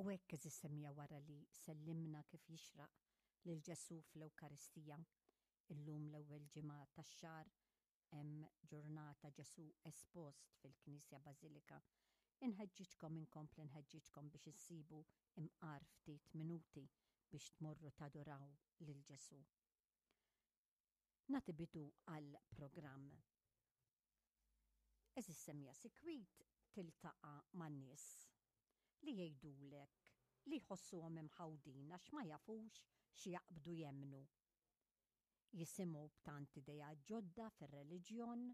U hekk għeżież semmiegħa wara li sellimna kif jixraq lil Ġesù fl-Ewkaristija, illum l-ewwel ġimgħa tax-xahar hemm ġurnata Ġesù espost fil-Knisja Bażilika, inħeġġiġkom inkompli nħeġġiġkom biex issibu imqar ftit minuti biex tmorru taduraw lil Ġesù. Nagħti bidu għall-programm. Għeżież semmiegħa sikwit tiltaqa' ma' nies li jgħidulek li jħossuhom imħawdin għax ma jafux x'jaqbdu jemmnu. Jisimgħu b'tant ideat ġodda fir-reliġjon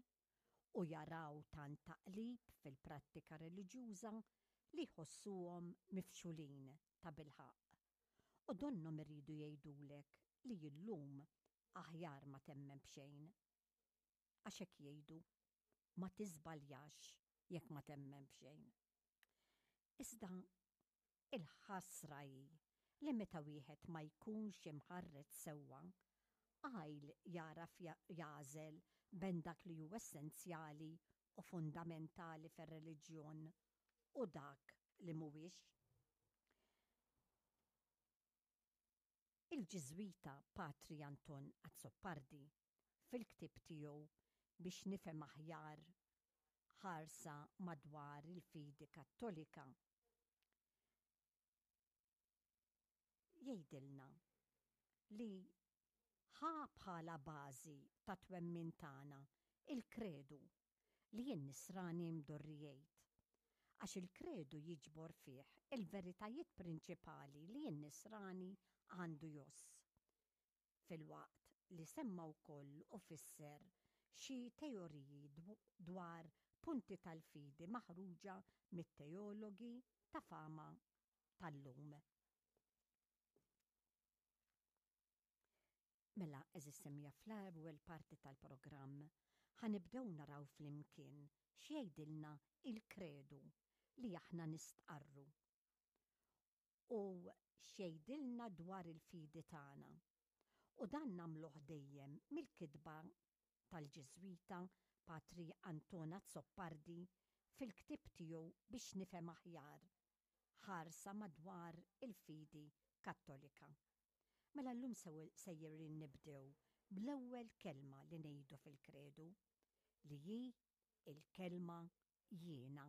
u jaraw tant taqlib fil-prattika reliġjuża li jħossuhom mifxulin tabilħaqq. U donnhom iridu jgħidulek li illum aħjar ma temmen b'xejn. Għax hekk jgħidu, ma tiżbaljax jekk ma temmen b'xejn. Iżda il-ħasra hi li meta wieħed ma jkunx imħarreġ sewwa, għajl jagħraf jagħżel bejn dak li hu essenzjali u fundamentali fir-reliġjon u dak li mhuwiex. Il-Ġiżwita Patri Anton Azzopardi fil-ktieb tiegħu Biex nifhem aħjar ħarsa madwar il-fidi Kattolika jgħidilna li ħa bħala bażi tat-twemmin tagħna il-kredu li n-Nisrani mdorri jgħid, għax il-kredu jiġbor fih il-veritajiet prinċipali li n-Nisrani għandu jgħożż, filwaqt li semma wkoll u fisser xi teoriji dwar punti tal-fidi maħruġa mit-teologi ta' fama tal-lum. Mela, għeżież semmiegħa fl-ewwel parti tal-programm ħa nibdew naraw flimkien x'jgħidilna il-kredu li aħna nistqarru u x'jgħidilna dwar il-fidi tagħna. U dan nagħmluh dejjem mill-kitba tal-Ġiżwita Patri Anton Azzopardi fil-ktieb tiegħu Biex nifhem aħjar, ħarsa madwar il-fidi Kattolika. Mela llum sejrin nibdew bl-ewwel kelma li ngħidu fil-Kredu, li hi l-kelma jiena.